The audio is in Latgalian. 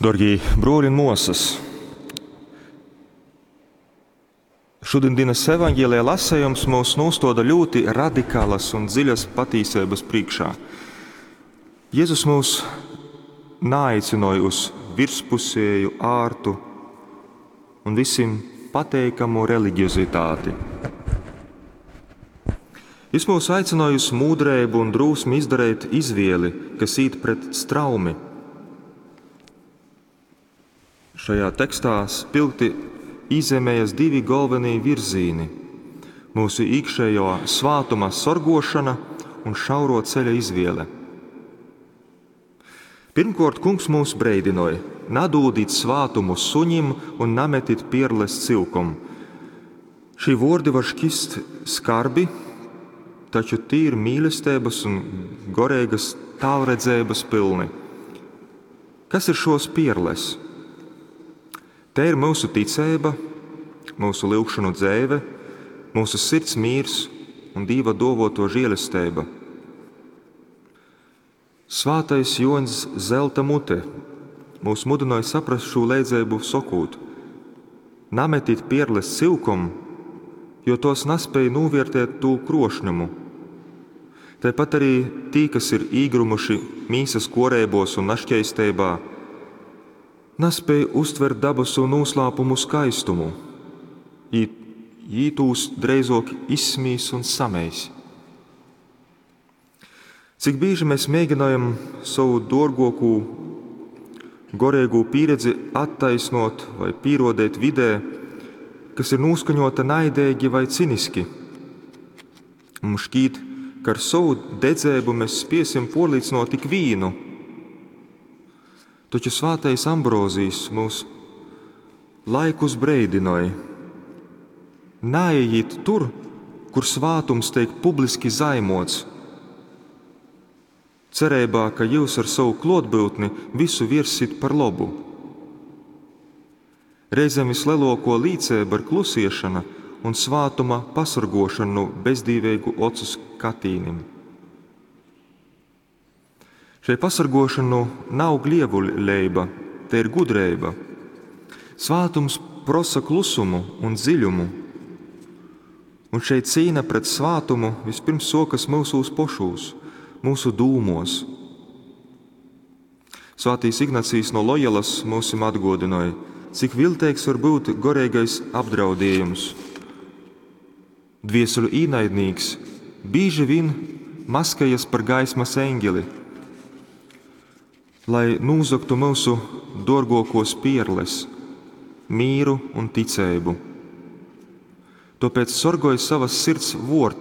Dorgie bruoļi un muosys, šodienas evaņģēlija lasījums mūs nūstoda ļoti radikālas un dziļas patīseibas priekšā. Jēzus mūs naaicināja uz virspusēju, ārtu un visiem pateikamu religiozitāti. Jis mūs aicināja uz mūdreibu un drosmi izdarīt izvēli, kas īt pret straumi. Šajā tekstā spilgti īzīmējas divi galvenie virzīni – mūsu iekšējo svātuma sorgošana un šauro ceļa izvēle. Pirmkārt, kungs mūs breidinoja: nadūdīt svātumu suņim un nametit pierles cilkom. Šī vordi var šķist skarbi, taču tī ir mīlestības un gorīgas tālredzības pilni. Kas ir šos pierles? Te ir mūsu ticība, mūsu lūgšanu dzēve, mūsu sirds mīrs un Dieva dovoto žēlastība. Svātais Joņs Zelta mute mūs mudināja saprast šo leidzēbu sokūt: Nametit pierles cilkom, jo tos nespēja novērtēt tū krošņumu. Tāpat arī tī, kas ir īgrumuši mīsas korēbos un našķeistībā, nespēja uztvert dabasu noslēpumu skaistumu. Jī, jī tūs dreizok izsmīs un sameis. Cik bieži mēs mēģinājam savu dārgāko gorīgo pieredzi attaisnot vai pierodēt vidē, kas ir noskaņota naidīgi vai ciniski. Mums šķiet, ka ar savu dedzēbu mēs spiesim porlīdzinot tik vīnu. Taču svātais Ambrozijs mūs laikus breidinoja. Nāejiet tur, kur svātums tiek publiski zaimots, cerībā, ka jūs ar savu klotbūtni visu virsit par labu. Reizēm vislielāko līdzēba ir klusiešana un svātuma pasargošana no bezdīvīgu ocu skatīnim. Šai pasargošanu nav glievuļleiba, te ir gudrība. Svātums prosa klusumu un dziļumu, un šeit cīna pret svātumu vispirms sokas mūsūs pošūs, mūsu dūmos. Svētīs Ignacijas no Loyolas mūsim atgodināja, cik viltīgs var būt gorīgais apdraudējums. Dvieseļu īnaidnīgs bieži vien maskējas par gaismas eņģeli, lai nozagtu mūsu dārgākos pierles, mīru un ticību. Tāpēc sorgoju savas sirds vortus.